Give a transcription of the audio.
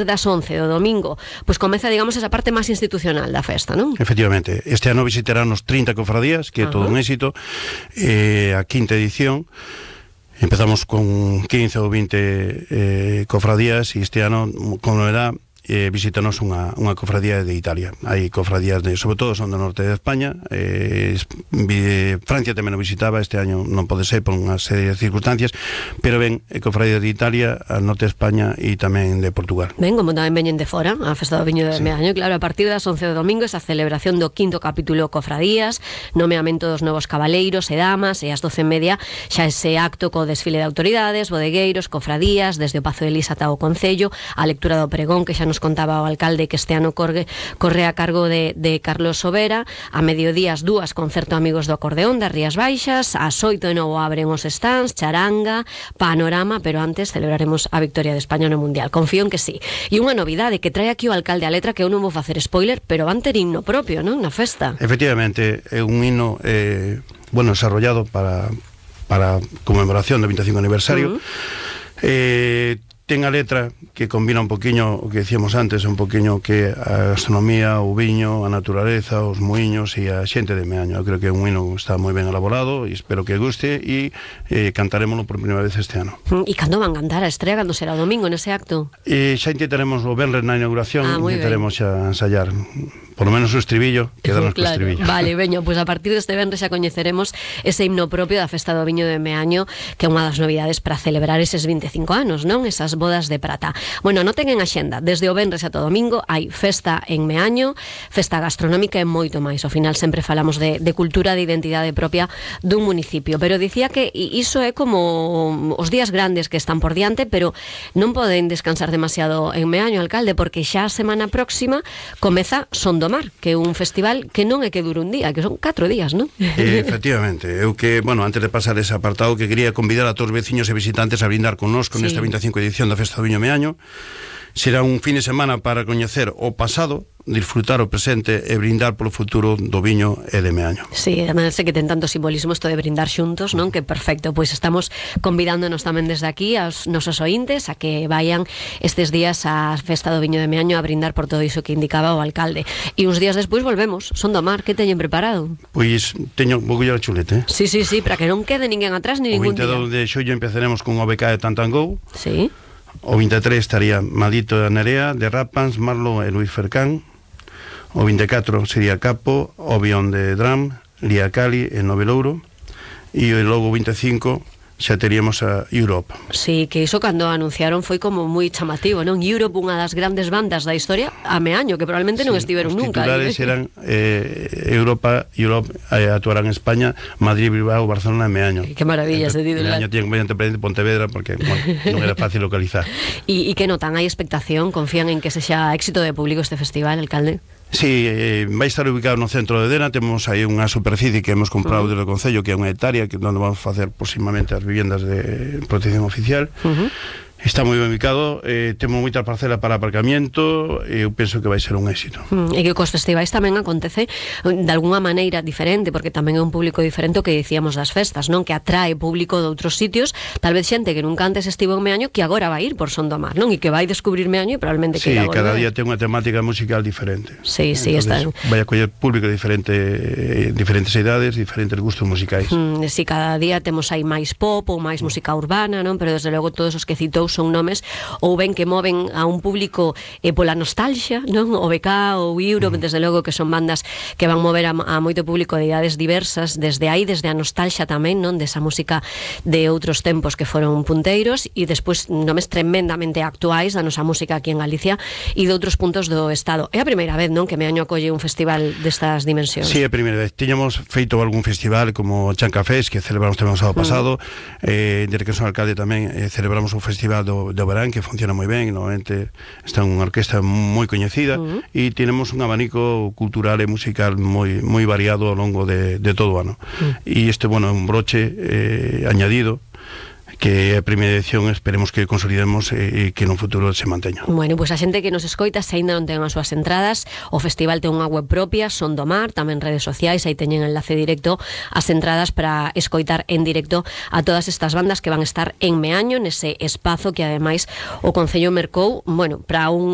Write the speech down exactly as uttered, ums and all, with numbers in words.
das once do domingo, pois comeza, digamos, esa parte máis institucional da festa, non? Efectivamente, este ano visitarán os trinta cofradías, que é todo un éxito, eh, a quinta edición. Empezamos con quince ou vinte eh, cofradías e este ano, con novedad, eh, visítanos unha, unha cofradía de Italia. Hai cofradías, de, sobre todo son do norte de España, eh, Francia tamén o visitaba, este año non pode ser por unha serie de circunstancias, pero ven, eh, cofradías de Italia, al norte de España e tamén de Portugal. Ben, como tamén veñen de fora, a festa do viño de sí. Meaño, claro, a partir das once do domingo esa celebración do quinto capítulo cofradías, nomeamento dos novos cabaleiros e damas, e ás doce e media xa ese acto co desfile de autoridades, bodegueiros, cofradías, desde o Pazo de Lisa ata o Concello, a lectura do pregón que xa nos contaba o alcalde que este ano corre, corre a cargo de, de Carlos Sobera. A mediodía as dúas concerto Amigos do Acordeón das Rías Baixas, ás oito de novo abren os stands, charanga, panorama, pero antes celebraremos a victoria de España no Mundial. Confío en que sí. E unha novidade que trae aquí o alcalde a letra, que eu non vou facer spoiler, pero van ter himno propio, non? Na festa. Efectivamente, é un himno eh, bueno, desarrollado para, para conmemoración do veinticinco aniversario. Uh-huh. Eh, ten a letra que combina un poquinho o que decíamos antes, un poquinho que a gastronomía, o viño, a naturaleza, os muiños e a xente de Meaño. Eu creo que é un hino que está moi ben elaborado e espero que guste e eh, cantarémoslo por primeira vez este ano. E cando van cantar a estrela, cando será o domingo nese acto? E xa intentaremos o venres na inauguración, ah, intentaremos xa ensayar por lo menos o estribillo, quedarnos claro, co estribillo. Vale, veño, pois pues a partir deste venres xa coñeceremos ese himno propio da Festa do Viño de Meaño, que é unha das novidades para celebrar eses veinticinco anos, non? Esas bodas de prata. Bueno, noten en axenda, desde o venres ata o domingo hai festa en Meaño, festa gastronómica e moito máis. Ao final sempre falamos de, de cultura, de identidade propia dun municipio, pero dicía que iso é como os días grandes que están por diante, pero non poden descansar demasiado en Meaño, alcalde, porque xa a semana próxima comeza Son do Mar, que é un festival que non é que dure un día, que son catro días, non? Eh, efectivamente, eu que, bueno, antes de pasar ese apartado, que quería convidar a todos os veciños e visitantes a brindar connosco sí. nesta veinticinco edición da Festa do Viño Meaño. Será un fin de semana para coñecer o pasado, disfrutar o presente e brindar polo futuro do viño e de Meaño. Sí, además sei que ten tanto simbolismo isto de brindar xuntos, non? Que perfecto, pois estamos convidándonos tamén desde aquí aos nosos ointes a que vayan estes días á Festa do Viño de Meaño a brindar por todo iso que indicaba o alcalde. E uns días despois volvemos, Son do Mar, que teñen preparado? Pois teño un pouquillo de chulete. Sí, sí, sí, para que non quede ninguén atrás ni ningún día. O vinte e dous de xullo empezaremos con o B K de Tantangou. Sí. O vinte e tres estaría Madito de Nerea, de Rapans, Marlo e Luis Fercán. O vinte e catro sería Capo, Obión de Dram, Lía Cali e Novelouro. E logo o vinte e cinco xa teríamos a Europe. Sí, que iso cando anunciaron foi como moi chamativo, non? Europe, unha das grandes bandas da historia, a Meaño, que probablemente sí, non estiveron nunca. Os titulares eran eh, Europa, Europe, eh, actuarán en España, Madrid, Bilbao, Barcelona e Meaño. Que maravilla ese titular. Meaño tiene comediante presente Pontevedra porque, bueno, non era fácil localizar. E que notan? Hai expectación? Confían en que sexa éxito de público este festival, alcalde? Sí, eh, vai estar ubicado no centro de Dena. Temos aí unha superficie que hemos comprado uh -huh. desde o Concello, que é unha hectárea, que onde vamos facer próximamente as viviendas de protección oficial. Uh -huh. Está moi ben ubicado, eh, temos moita parcela para aparcamiento e eu penso que vai ser un éxito. Mm, e que cos festivais tamén acontece de alguna maneira diferente, porque tamén é un público diferente o que dicíamos das festas, non? Que atrae público de outros sitios, tal vez xente que nunca antes estivo en Meaño, que agora vai ir por Son do Mar, non? E que vai descubrir Meaño e probablemente sí, que irá volver. Sí, cada día ten unha temática musical diferente. Sí, sí, está. Vai a coller público diferente, eh, diferentes idades, diferentes gustos musicais. Mm, sí, cada día temos aí máis pop ou máis música urbana, non? Pero desde logo todos os que citou son nomes ou ben que moven a un público eh, pola nostalgia, non? O B K ou Europe, mm. desde logo que son bandas que van mover a, a moito público de idades diversas, desde aí, desde a nostalgia tamén, non? Desa música de outros tempos que foron punteiros, e despois nomes tremendamente actuais da nosa música aquí en Galicia e de outros puntos do estado. É a primeira vez, non? Que Meaño acolle un festival destas dimensións. Sí, é a primeira vez. Tiñamos feito algún festival como Chancafés, que celebramos tamén o sábado pasado, mm. eh, desde que son alcalde tamén eh, celebramos un festival do de Oberán, que funciona moi ben, normalmente está unha orquesta moi coñecida, uh -huh. e tenemos un abanico cultural e musical moi moi variado ao longo de, de todo o ano. Uh -huh. E este, bueno, é un broche eh, añadido que é a primeira edición, esperemos que consolidemos e, e que no futuro se manteña. Bueno, pois pues a xente que nos escoita, se aínda non ten as súas entradas, o festival ten unha web propia, Son do Mar, tamén redes sociais, aí teñen enlace directo as entradas para escoitar en directo a todas estas bandas que van estar en Meaño, nese espazo que ademais o Concello mercou, bueno, para un